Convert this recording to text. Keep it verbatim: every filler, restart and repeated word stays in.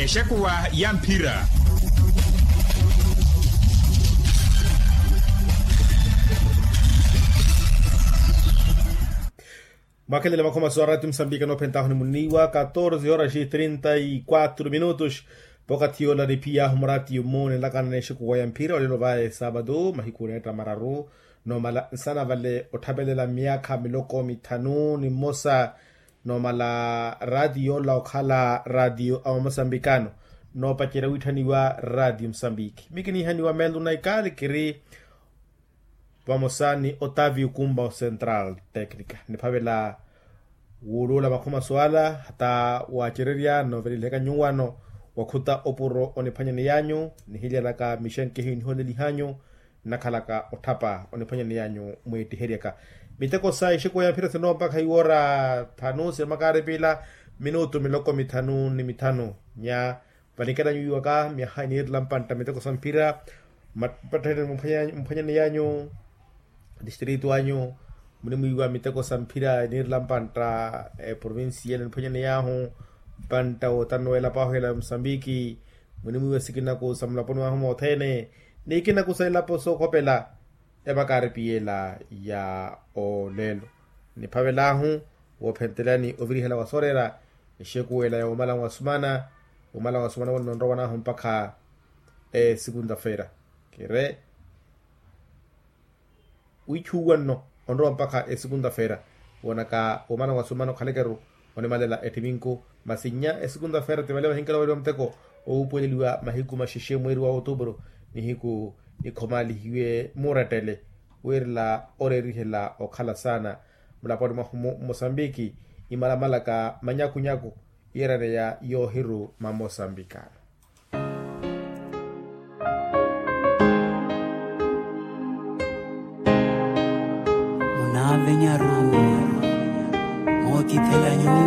Exekuwa ya mphira. Mwakhelele makhomaso a ratio musambika noophentahu ni muniiwa katorze horas trinta y quatro minutos. Pokathi yoola niphiyaahu muratiyo mmoone nlakana n'exekuwa ya mphira olelo vaye saabado mahiku neetta mararu. Noomala nsana vale otthapelela myaakha miloko mithanu ni mmosa. Noomala ratio yoola okhala ratio a mosambikano noopacerya witthaniwa ratio musambiki mikiniihaniwa meelo naikali kiri vamosa ni otavio kumba o central tecnica niphavela. Wuuluula makhomaso ala hata waacererya noovelelihaka nyuwano wakhuta opuro oniphwanyaneyanyu nihilyalaka mixenkehi nihoolelihanyu. Nnakhalaka otthapa oniphwanyaneyanyu mweettiheryaka miteko sa exekuwa ya mphira sinoopakha iwoora thanu siremakaari piila minutu miloko mithanu ni mithanu nya. Vanikelanyu wiiwaka myaha iniirela mpantta miteko sa mphira. Mpatthene mphwanyaneyanyu distritu anyu munimwiiwa miteko sa mphira iniirela mpantta eprovincia ene niphwanyaneyaahu mpantta wootanu weelapo ahu ela musambiki. Munimwiiwa sikinaku sa mulaponi wahu mothene ni ikinaku sa elapo sookhopela. Evakaari piyela ya olelo niphavelaahu woophentelani ovirihela wa soorera exekuwela ya womala nwasumana. Womala nwasumana wonno onrowanaahu mpakha esikunta-feera kire wiichuwa nno onrowa mpakha esikunta-feera. Woonaka womala nwasumana okhalekeru onimalela ettiminku masi nnya esikunta-feera ti vale vahinkela weriwa muteko owuupuweleliwa mahiku maxexe mweeri wa otuupuru nihiku nikhomaalihiwe murettele. Wiirela oreerihela okhala saana mulaponi mwahu mosambiki imalamalaka manyakunyaku iyeeraneya yoohiru mamosambikano. Munaavenyaru mootithelanyu.